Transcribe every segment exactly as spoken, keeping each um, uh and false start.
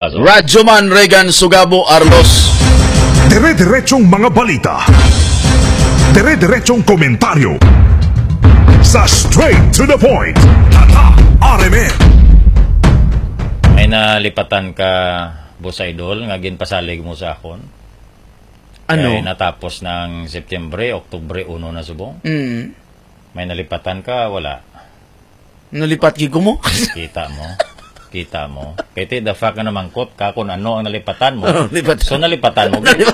Radyo Man Regan Sugabo Arlos. Dire-diretsong mga balita. Dire-diretsong komentaryo. Sa Straight to the Point. Tatak R M N. May nalipatan ka, Boss Idol, nga ginpasalig mo sa akon? Ano? Kay natapos na ang September, Oktubre uno na subong. Mm. May nalipatan ka, wala? Nalipat gid ko mo. Kita mo? Kita mo? Kay ti the fact nga namangkot ka kung ano ang nalipatan mo. Oh, lipat. So, nalipatan mo gid.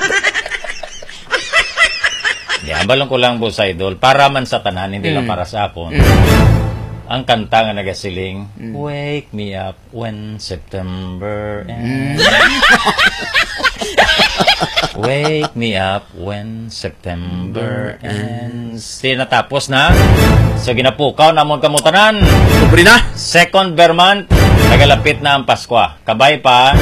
Di, ambalon ko lang, Boss Idol, para man sa tanan, hindi lang Mm. para sa akon. Mm. Ang kanta nga nagasiling, Mm. "Wake me up when September ends." Mm. "Wake me up when September ends." Di natapos na. So, ginapukaw namon kamo tanan. Pobre na. Second ber month, nagalapit na ang Paskwa. Kabay pa,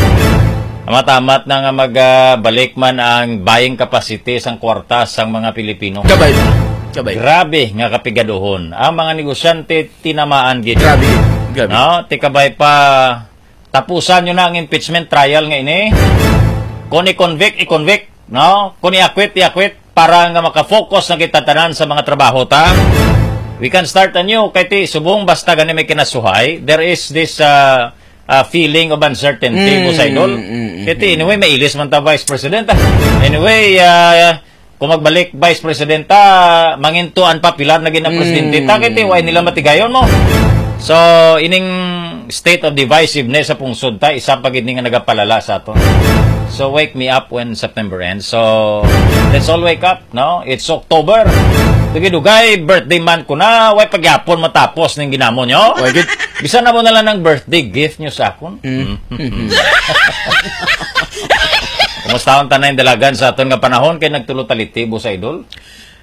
amat-amat na nga mag, ah, balik man ang buying capacity sang kwarta sang mga Pilipino. Kabay pa. Kabay. Grabe nga kapigaduhon. Ang mga negosyante tinamaan gid. Grabe. Grabe. No? Ti kabay pa, tapusan nyo na ang impeachment trial nga ini. Kung i-convict, i-convict. No? Kung i-acquit, i-acquit. Para nga makafocus na kita tanan sa mga trabaho ta. We can start anew. Kay ti, subong basta gani may kinasuhay, there is this, ah, ah, feeling of uncertainty, Mm, Boss Idol. mm, mm, Kay ti, mm. anyway, may ilis man ta, Vice President, ah. Anyway, ah, kung magbalik, Vice President, ah, mangintuan pa pilar na gina presidente. Mm. Ta, kay ti, why nila matigayon mo? So, ining state of divisiveness sa pungsod ta, isa pa gid ni nga nagapalala sa ato. So, wake me up when September ends. So, let's all wake up, no? It's October. Dugay-dugay, birthday month ko na. Way pagyapon matapos ning ginamo nyo. Way gid. Bisan na mo na lang ng birthday gift nyo sa akon. Mm. Mm. Kumusta ang tanay dalagan sa aton nga panahon kay nagtulo taliti, Boss Idol?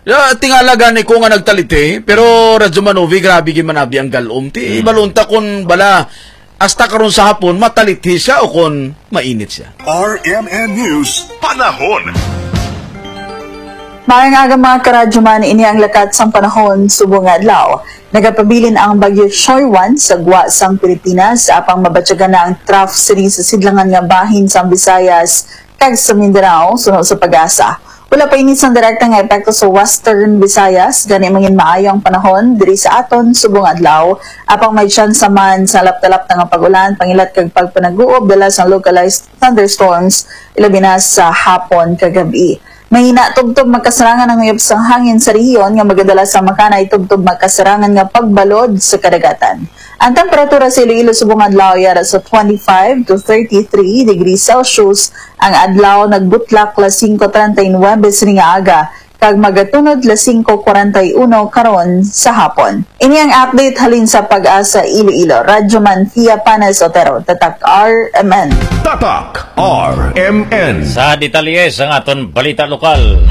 Ya, tingala gani ko nga nagtaliti, pero Radyo Manovi, grabe gid man abi ang galom. Ti, Hmm. balunta kun bala, hasta karon sa hapon, mataliti siya o kun mainit siya. R M N News, panahon. Maayong aga, mga karadyoman, ini ang lakat sang panahon subong nga adlaw. Nagapabilin ang Bagyo Choyuan sa gwa sang Pilipinas, apang mabatyagan na ang trough sini sa sidlangan nga bahin sang Visayas kag sa Mindanao, suno sa PAGASA. Wala pa ini sang direkta nga epekto sa Western Visayas, gani mangin maayo ang panahon diri sa aton subong adlaw, apang may tsansa man sa lapta-lapta nga pag-ulan, pangilat kag pagpanaguob dala sang localized thunderstorms, ilabi na sa hapon kag gab-i. Mahina tubtob makasarangan ang uyab sang hangin sa rehiyon nga magadala sa makanay tubtob makasarangan nga pagbalod sa kadagatan. Ang temperatura sa Iloilo subong adlaw yara sa twenty-five to thirty-three degrees Celsius. Ang adlaw nagbutlak las singko treinta y nuebe sini nga aga, kag magatunod las singko kwarenta y uno karon sa hapon. Ini ang update halin sa PAGASA Iloilo. Radyo Man Fia Panes Otero, Tatak R M N. Tatak R M N. Sa detalye sang aton balita lokal.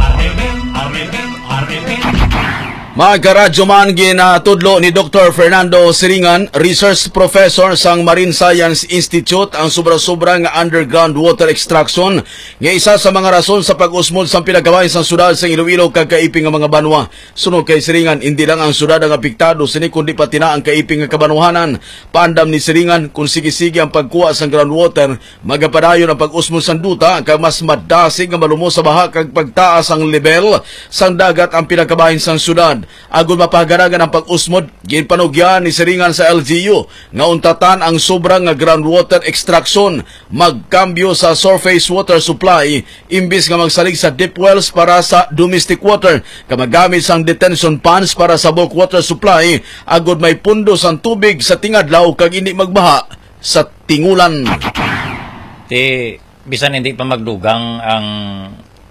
Mga karadyo man, ginatudlo ni Doktor Fernando Siringan, research professor sang Marine Science Institute, ang sobra-sobra nga underground water extraction nga isa sa mga rason sa pag-usmod sang pinakabahin sang syudad sang Iloilo kag kaiping nga mga banwa. Suno kay Siringan, indi lang ang syudad ang apektado sini, kundi pati na ang kaiping nga kabanwahanan. Paandam ni Siringan, kung sige-sige ang pagkuha sang groundwater, magapadayon ang pag-usmod sang duta kag mas madasig nga malumos sa baha kag pagtaas ang lebel sang dagat ang pinakabahin sang syudad. Agud mapahagaragan ang pag-usmod, ginpanugyan ni Siringan sa L G U nga untatan ang sobra nga groundwater extraction, magkambyo sa surface water supply imbis nga magsalig sa deep wells para sa domestic water, kag magamit sang detention ponds para sa bulk water supply, agud may pundos ang tubig sa tingadlaw kag indi magbaha sa tingulan. Ti, bisan hindi pa magdugang ang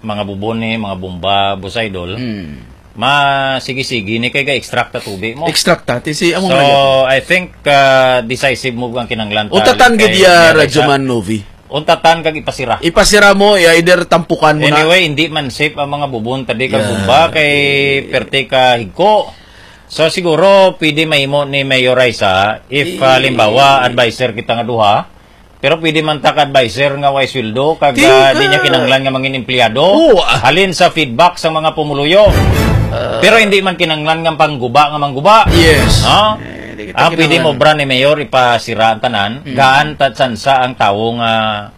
mga bubon ni, mga bomba, Boss Idol, Hmm. masigi-sigi ni kay ga-extract ta tubig mo. Extract ta, ti si amo So, nga. I think, uh, decisive move ang kinahanglan ta Untatan gid kay ya, Mayor Raisa. Radyo Man Novi. Untatan kag ipasira. Ipasira mo, i-, either tampukan mo na. Anyway, hindi man safe ang mga bubon tadi kag Yeah. bomba kay perte ka higko. So, siguro pwede mahimo ni Mayor Raisa if, ah, Eh. halimbawa, adviser kita nga duha, pero pwede man ta ka adviser nga way sweldo kag, Ti ah, ka- di niya kinahanglan nga mangin empleyado. Oo, ah. Halin sa feedback sa mga pumuluyo. Ah. Pero hindi man kinahanglan nga pangguba nga mangguba. Yes. Ha? Eh, Ah, pwede mo obra ni Mayor ipasira ang tanan, Mm. gaan ta tsansa ang tawo nga